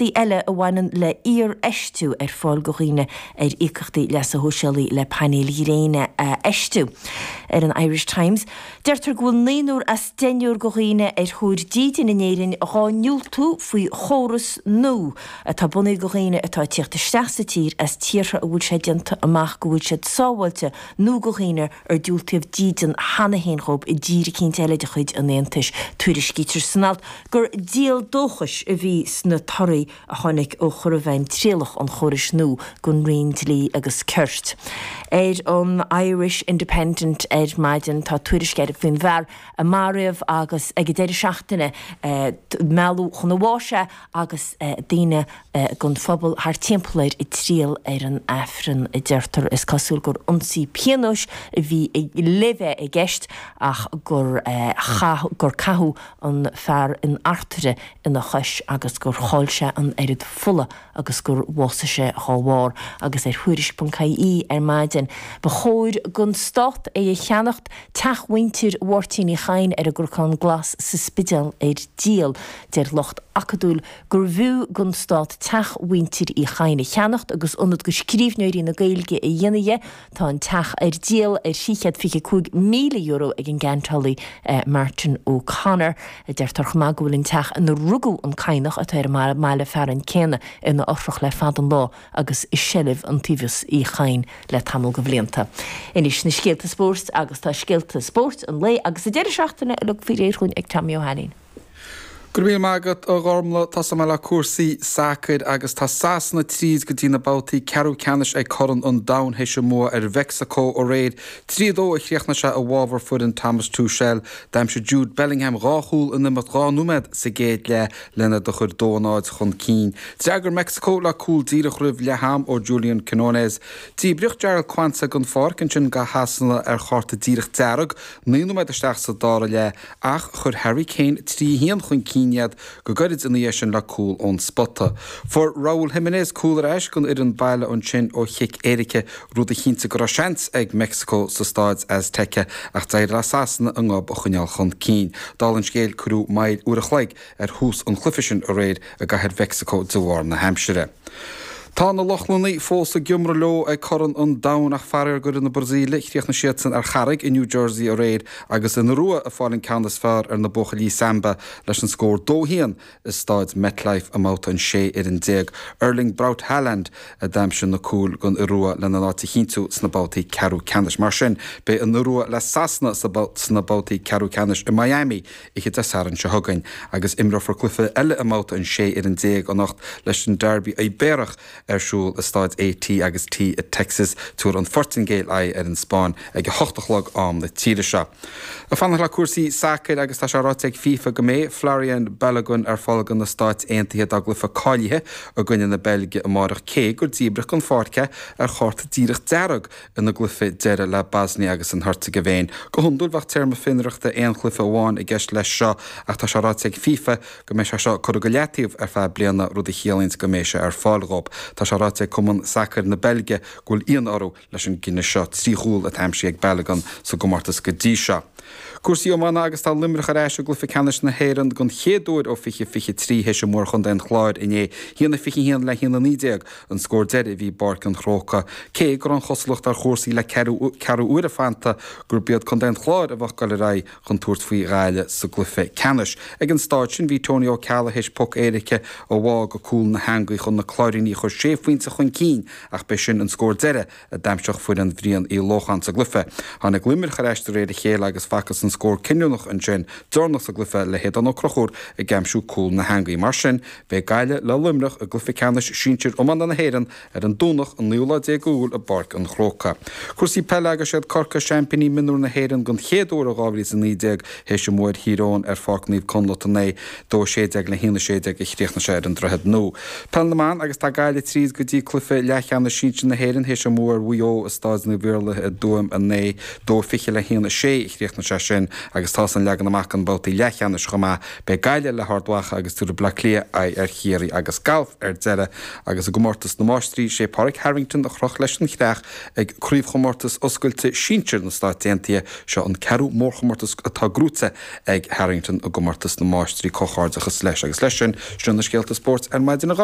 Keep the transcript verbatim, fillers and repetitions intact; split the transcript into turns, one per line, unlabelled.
eile a bhaineann le hiarfheistiú ar fáil go dhaoine ar íocaíochtaí leasa shóisialaigh le painéil ghréine a fheistiú. Ar an Irish Times, deirtear go bhfuil naonúr as deichniúr go dhaoine ar thóir dídin in Éirinn dhá ndiúltú faoi chóras nua atá bunaithe go dhaoine atá ag tíocht isteach sa tír as tíortha a bhfuil sé déanta amach go bhfuil siad sábháilte nó go dhaoine ar diúltaíodh dídean cheana féin dhóibh i dtír eicínt eile de chuid an Aontais. Tuairiscítear san alt gur díol dóchais a bhí sna torthaí a tháinig ó chur i bhfeidhm trialach an chórais nua gon Roinn Dlí agus Cirt. Ar an Irish Independent ar maidin tá tuairisc air faoin bhfear a maraíodh agus ag an deireadh seachtaine mealladh chun a bháis é agus daoine gon phobal thar timpeall air ag triall ar an Aifreann a deirtear is cosúil gur ionsaí pionóis a bhí le bheith i gceist ach gur gur caitheadh an fear in artaire ina chois agus gur chaill sé an oiread fola agus gur bhásaigh sé dá bharr agus ar Thuairisc ponc ie ar maidin. Ba chóir gon stát é a cheannacht teach mhuintir Mháirtín Uí Chadhain ar an gCnocán Glas sa Spidéal ar díol. Deir lucht acadúil gur bhfiú gon stát teach mhuintir Uí Chadhain a cheannacht agus ionad go scríbhneoirí na Gaeilge a dhéanamh dhe. Tá an teach ar díol ar trí chéad fiche cúig míle euro ag an gceantálaí Martin O'Connor. Deirtear chomh maith go bhfuil an teach ina rugadh an Cadhnach atá ar an mbaile fearainn céanna ina fhothrach le fada an lá agus i seilbh Iontaobhas Uí Chadhain le tamall go bhlianta. Anois na scéalta spóirt agus tá scéalta spóirt an lae agus an deireadh seachtaine uilig faoi réir chugainn ag Tommy Ó hAilín.
Go raibh míle maith agat a Ghormlaith, tosóidh mé le cúrsaí sacair agus tá Sasana tríd go dtí na babhtaí ceathrú ceannais ag Corn an Domhain théis a mbua ar Mheicsiceo aréir. Trí a dó a chríochnaigh sé i bhfabhar foireann Thomas Tuchel. D'aimsigh Jude Bellingham dhá chúl in imeacht dhá nóiméad sa gcéad leath lena do chur dó a náid chun cinn. D'fhreagair Meicsiceo le cúl díreach roimh leath-am ó Julian Quinones. Díbríodh Jarell Quansah den pháirc ansin go Shasana ar chárta díreach dearg naoi nóiméad isteach sa dara leath ach chuir Harry Kane trí a haon chun cinn iad go gairid ina dhiaidh sin le cúl ón spota. Fuair Raúl Jiménez cúl ar ais don fhoireann baile ansin ó chic éirice, rud a chinntigh go raibh seans ag Meicsiceo sa Stáid Azteca ach d'éirigh le Sasana a ngob a choinneáil chun cinn. Dála an scéil cuireadh moill uair a chloig ar thús an chluiche sin aréir i gcathair Mheicsiceo de bharr na haimsire. Tá na Lochlannaigh fós ag iomramh leo ag Corn an Domhain ach faraor d'fhoireann na Brasaíle, chríochnaigh siadsan ar charraig i New Jersey aréir agus an Iorua ag fáil an ceann is fearr ar na buachaillí Samba leis an scór dó haon i Stáid MetLife i mbabhta an sé fhoireann déag. Erling Braut Haaland a d'aimsigh na cúil don Iorua lena n-áit a chinntiú sna babhtaí ceathrú ceannais. Mar sin, beidh an Iorua le Sasana sna babhtaí ceathrú ceannais i Miami oíche Dé Sathairn seo chugainn agus imreofar cluiche eile i mbabhta an sé fhoireann déag anocht leis an Derby Ibéarach ar siúl i Stáid AT agus T i Texas. Tabharfaidh an Phortaingéil aghaidh ar an Spáinn ag a hocht a chlog am na tíre seo. Ag fanacht le cúrsaí sacair agus tá sé ráite ag FIFA go mbeidh Folarin Balogun ar fáil do na Stáit Aontaithe dá gcluiche cáilithe i gcoinne na Beilge amárach cé gur díbríodh den pháirc é ar chárta díreach dearg ina gcluiche deiridh le Bosnia agus an Heirseagaivéin. Go hiondúil bheadh téarma fionraíochta aon chluiche amháin i gceist leis seo ach tá sé ráite ag FIFA go mbeidh sé seo curtha go leataobh ar feadh bliana rud a chiallaíonn go mbeidh sé ar fáil dhóibh. Tá sé ráite ag Cumann Sacair na Beilge go bhfuil ionadh orthu leis an gcinneadh seo. Trí chúl atá aimsithe ag Balogun sa gcomórtas go dtí seo. Cúrsaí iomána agus tá Luimneach ar ais i gcluiche ceannais na hÉireann don chéad uair ó fiche fiche trí théis a mbua ar Chontae an Chláir inné. haon a fiche haon le haon a naoi déag an scór deiridh a bhí i bPáirc an Chrócaigh. Cé go raibh an chosúlacht ar chúrsaí le ceathrú uaire fanta gurb iad Contae an Chláir a bheadh ag dul ar aghaidh chun tabhairt faoi Ghaillimh sa gcluiche ceannais. Ag an staid sin bhí Tony Ó Ceallaigh théis poc éirice a bhá go cúl na heangaí chun na Cláirínigh a chur sé phointe chun cinn ach b'é sin an scór deiridh a d'aimseodh foireann Bhrian Uí Lócháin sa gcluiche. Tháinig Luimneach ar ais de réir a chéile agus facthas an scór cinniúnach ansin deireanach sa gcluiche le hAodán Ó Conchúir ag aimsiú cúl na heangaí. Mar sin, beidh Gaillimh le Luimneach i gcluiche ceannais sinsir iomána na hÉireann ar an Domhnach an naoú lá déag Iúil i bPáirc an Chrócaigh. Cúrsaí peile agus siad Corcaigh seaimpíní mionúr na hÉireann don chéad uair ó dhá mhíle is a naoi déag théis a mbua ar Thír Eoghain ar Pháirc Naomh Conleth inné, dó a sé déag le haon a sé déag a chríochnaigh sé ar an Droichead Nua. Peil na mBan agus tá Gaillimh tríd go dtí cluiche leathcheannais sinsir na hÉireann théis a mbua ar Mhaigh Eo i Staid Naomh Iarlaith i dTuaim inné, dó fiche le haon a sé a chríochnaigh sé sin agus tá san leagan amach don babhtaí leathcheannais chomh maith. Beidh Gaillimh le hArd Mhacha agus tabharfaidh Bleá Cliath aghaidh ar Chiarraí agus galf ar deireadh agus i gcomórtas na Máistrí sé Pádraig Harrington a chroch leis an chreach ag Craobhchomórtas Oscailte Sinsir na Stát Aontaithe. Seo an ceathrú mórchomórtas atá gnóthaithe ag Harrington i gcomórtas na Máistrí. Comhghairdeachas leis agus leis sin, sin na scéalta spóirt ar maidin a